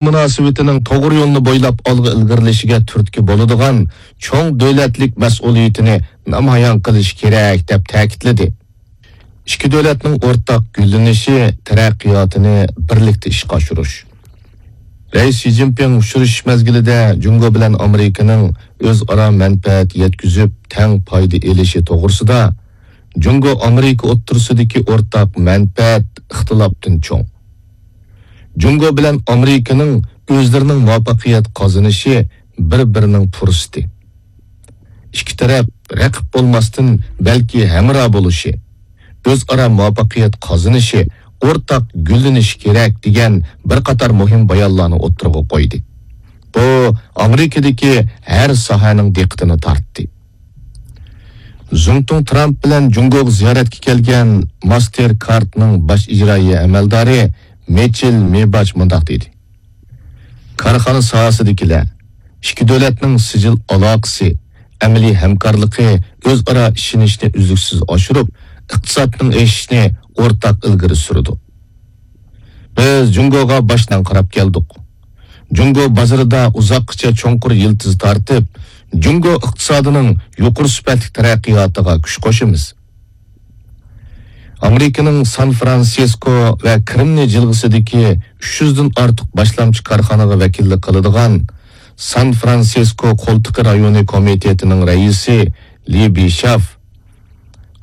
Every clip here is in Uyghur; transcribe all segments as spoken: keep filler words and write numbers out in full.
مۇناسىۋىتىنىڭ توغرا يولنى بويلاپ ئالغا ئىلگىرىلىشىگە تۈرتكە بولىدىغان چوڭ دۆلەتلىك مەسئۇلىيىتىنى نامايان قىلىشى كېرەك، دەپ تەكىتلىدى. ئىككى دۆلەتنىڭ ئورتاق گۈللىنىشى، تەرەققىياتىنى بىرلىكتە ئىشقا ئاشۇرۇش. رەئىس شى جىنپىڭ ئۇچرىشىش مەزگىلىدە جۇڭگو بىلەن ئامېرىكىنىڭ ئۆزئارا مەنپەئەت يەتكۈزۈپ، تەڭ پايدا ئېلىشى توغرىسىدا، جۇڭگو ئامېرىكا ئوتتۇرىسىدىكى ئورتاق مەنپەئەت ئىختىلاپتىن چوڭ. جۇڭگو بىلەن ئامېرىكىنىڭ ئۆزلىرىنىڭ مۇۋەپپەقىيەت قازىنىشى بىر-بىرىنىڭ پۇرسىتى. ئىككى تەرەپ رەقىب بولماستىن، بەلكى ھەمراھ بولۇشى، ئۆزئارا مۇۋەپپەقىيەت قازىنىشى، ئورتاق گۈللىنىشى كېرەك، دېگەن بىر قاتار مۇھىم بايانلارنى ئوتتۇرىغا قويدى. بۇ ئامېرىكىدىكى ھەر ساھەنىڭ دىققىتىنى تارتتى. زۇڭتۇڭ ترامپ بىلەن جۇڭگوغا زىيارەتكە كەلگەن ماستېر كارتنىڭ باش ئىجرائىيە ئەمەلدارى مېچېل مېباچ مۇنداق دېدى: كارخانا ساھەسىدىكىلەر، ئىككى دۆلەتنىڭ سىجىل ئالاقىسى، ئەمەلىي ھەمكارلىقى ئۆزئارا ئىشىنىشنى ئۈزلۈكسىز ئاشۇرۇپ، ئىقتىسادنىڭ ئېشىشىنى ئورتاق ئىلگىرى سۈرىدۇ. بىز جۇڭگوغا باشتىن قاراپ كەلدۇق. جۇڭگو بازىرىدا ئۇزاققىچە چوڭقۇر يىلتىز تارتىپ، جۇڭگو ئىقتىسادىنىڭ يۇقىرى سۈپەتلىك تەرەققىياتىغا كۈچ قوشىمىز. ئامېرىكىنىڭ سان فرانسىسكو ۋە كرېمنىي جىلغىسىدىكى ئۈچ يۈزدىن ئارتۇق باشلامچى كارخانىغا ۋەكىللىك قىلىدىغان سان فرانسىسكو قولتۇقى رايونى كومىتېتىنىڭ رەئىسى لى بىشاف،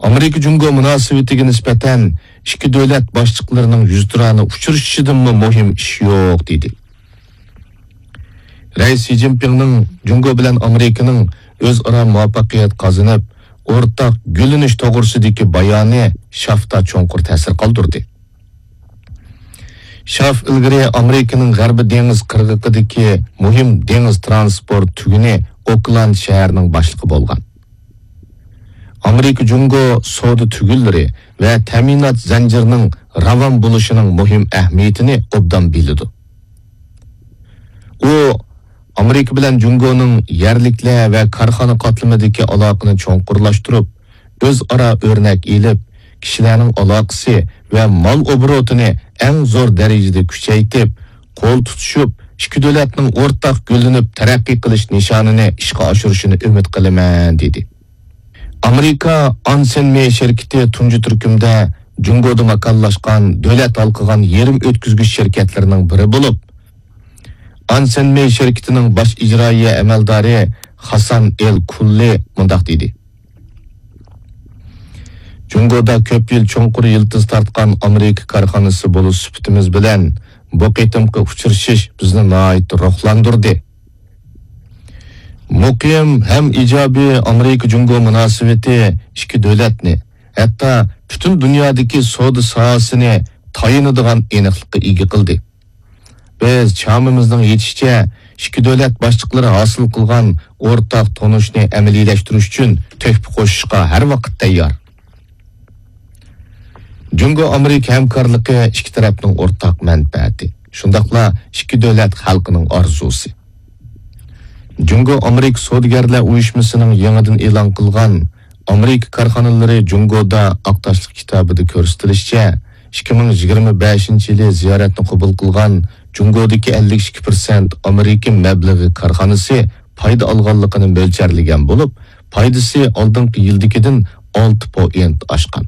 ئامېرىكا جۇڭگو مۇناسىۋىتىگە نىسبەتەن ئىككى دۆلەت باشلىقلىرىنىڭ يۈزتۇرانە ئۇچرىشىشىدىنمۇ مۇھىم ئىش يوق، دېدى. رەئىس شى جىنپىڭنىڭ جۇڭگو بىلەن ئامېرىكىنىڭ ئۆزئارا مۇۋەپپەقىيەت قازىنىپ، ئورتاق گۈللىنىش توغرىسىدىكى بايانى شافتا چوڭقۇر تەسىر قالدۇردى. شاف ئىلگىرى ئامېرىكىنىڭ غەربىي دېڭىز قىرغىقىدىكى مۇھىم دېڭىز ترانسپورت تۈگۈنى ئوكلاند شەھىرىنىڭ باشلىقى بولغان. ئامېرىكا جۇڭگو سودا تۈگۈنلىرى ۋە تەمىنات زەنجىرىنىڭ راۋان بولۇشىنىڭ مۇھىم ئەھمىيىتىنى ئوبدان بىلىدۇ. ئۇ ئامېرىكا بىلەن جۇڭگونىڭ يەرلىكلەر ۋە كارخانا قاتلىمىدىكى ئالاقىنى چوڭقۇرلاشتۇرۇپ، ئۆزئارا ئۆرنەك ئېلىپ، كىشىلەرنىڭ ئالاقىسى ۋە مال ئوبوروتىنى ئەڭ زور دەرىجىدە كۈچەيتىپ، قول تۇتۇشۇپ، ئىككى دۆلەتنىڭ ئورتاق گۈللىنىپ تەرەققىي قىلىش نىشانىنى ئىشقا ئاشۇرۇشىنى ئۈمىد قىلىمەن، دېدى. ئامېرىكا ئانسېن مېي شىركىتى تۇنجى تۈركۈمدە جۇڭگودا ماكانلاشقان دۆلەت ھالقىغان يېرىم ئۆتكۈزگۈچ شىركەتلىرىنىڭ بىرى بولۇپ، ئانسېن مېي شىركىتىنىڭ باش ئىجرائىيە ئەمەلدارى خاسان ئېل كۇللى مۇنداق دېدى: جۇڭگودا كۆپ يىل چوڭقۇر يىلتىز تارتقان ئامېرىكا كارخانىسى بولۇش سۈپىتىمىز بىلەن، بۇ قېتىمقى ئۇچرىشىش بىزنى ناھايىتى روھلاندۇردى. مۇقىم ھەم ئىجابىي ئامېرىكا جۇڭگو مۇناسىۋىتى ئىككى دۆلەتنى، ھەتتا پۈتۈن دۇنيادىكى سودا ساھەسىنى تايىنىدىغان ئېنىقلىققا ئىگە قىلدى. بىز چامىمىزنىڭ يېتىشىچە ئىككى دۆلەت باشلىقلىرى ھاسىل قىلغان ئورتاق تونۇشنى ئەمەلىيلەشتۈرۈش ئۈچۈن تۆھپە قوشۇشقا ھەر ۋاقىت تەييار. جۇڭگو ئامېرىكا ھەمكارلىقى ئىككى تەرەپنىڭ ئورتاق مەنپەئەتى، شۇنداقلا ئىككى دۆلەت خەلقىنىڭ ئارزۇسى. جۇڭگو ئامېرىكا سودىگەرلەر ئۇيۇشمىسىنىڭ يېڭىدىن ئېلان قىلغان ئامېرىكا كارخانىلىرى جۇڭگودا ئاق تاشلىق كىتابىدا كۆرسىتىلىشىچە، ئىككى مىڭ يىگىرمە بەشىنچى يىلى زىيارەتنى قوبۇل قىلغان جۇڭگودىكى ئەللىك ئىككى پىرسەنت ئامېرىكا مەبلىغى كارخانىسى پايدا ئالغانلىقىنى مۆلچەرلىگەن بولۇپ، پايدىسى ئالدىنقى يىلدىكىدىن ئالتە پوئىنت ئاشقان.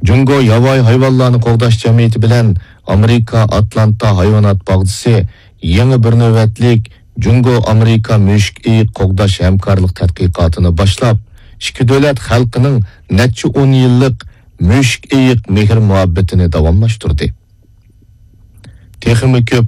جۇڭگو ياۋايى ھايۋانلارنى قوغداش جەمئىيىتى بىلەن ئامېرىكا ئاتلانتا ھايۋانات باغچىسى يېڭى بىر نۆۋەتلىك جۇڭگو ئامېرىكا مۈشۈك ئېيىق قوغداش ھەمكارلىق تەتقىقاتىنى باشلاپ، ئىككى دۆلەت خەلقىنىڭ نەچچە ئون يىللىق مۈشۈك ئېيىق مېھىر مۇھەببىتىنى داۋاملاشتۇردى. تېخىمۇ كۆپ